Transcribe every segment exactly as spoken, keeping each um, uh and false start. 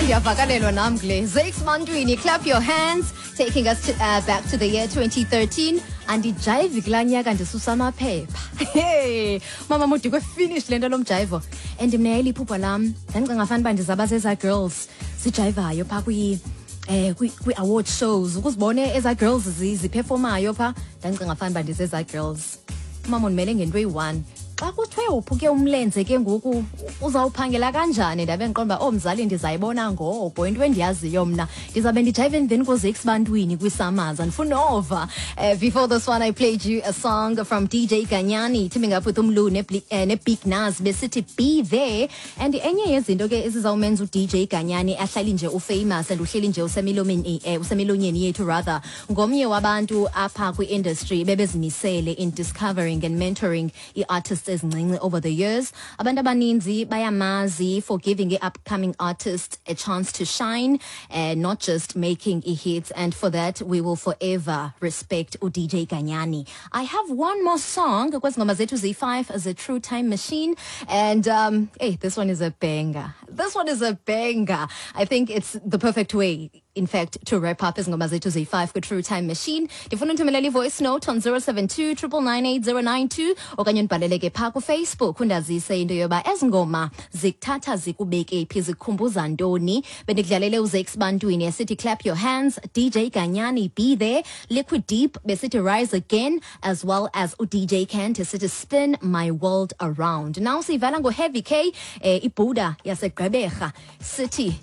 Ndiyavakalelwa nam kule. Zakes Bantwini, "Clap Your Hands", taking us to, uh, back to the year twenty thirteen. Andijayivi kulaa nyaka, ndisusa amaphepha. Hey, mama Modikwe, finish le nto lo mjayivo. And mna yayiliphupha lam, ndandicinga fana uba ndizaba zezaa girls zijayivayo phaa kwi eh kwi-award shows, ukuzibone ezaa girls ziperformayo phaa. Ndandicinga fana uba ndizezaa girls. Umama undimele ngento eyi-one, xa kuthiwe uphuke umlenze ke ngoku uzawuphangela kanjani? Ndabe ndiqonda uba, oh mzali, ndizayibona ngoko. Into endiyaziyo mna, ndizawube ndijayive emveni koZakes Bantwini kwi-SAMAs, andifuni nova. uh, before this one I played you a song from D J Ganyani teaming up with uMlu ne-Big Nuz, besithi "Be There". And enye yezinto ke ezizawumenza u-D J Ganyani ahlali nje ufamous and uhleli nje usemilomeni, eh, usemilonyeni yethu rather, ngomnye wabantu apha kwi-industry bebezimisele in discovering and mentoring ii-artists ezincinci over the years. Abantu abaninzi bayamazi for giving i-upcoming artists a chance to shine and not just making i-hits, and for that we will forever respect u-D J Ganyani. I have one more song kwezi ngoma zethu ziyi-five as a True Time Machine, and um, hey, this one is a banger. This one is a banger. I think it's the perfect way, in fact, to wrap up izingoma zethu ziyi-five kwi-True Time Machine. Ndifuna unthumelela i-voice note on zero seven two nine nine nine eight zero nine two okanye undibhalele ke phaa kuFacebook, undazise into yoba ezi ngoma zikuthatha zikubeke phi, zikukhumbuza ntoni. Bendikudlalele uZakes Bantwini esithi "Clap Your Hands", D J Ganyani, "Be There", Liquid Deep besithi "Rise Again", as well as uD J Kent esithi "Spin My World Around". Now siyivala ngoHeavy K, eh, iBuddha yaseGqeberha, sithi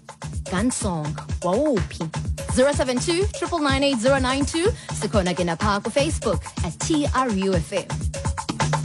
"Gun Song". Wawuphi? zero seven two nine nine nine eight zero nine two. Sikhona ke napha kuFacebook at T R U F M.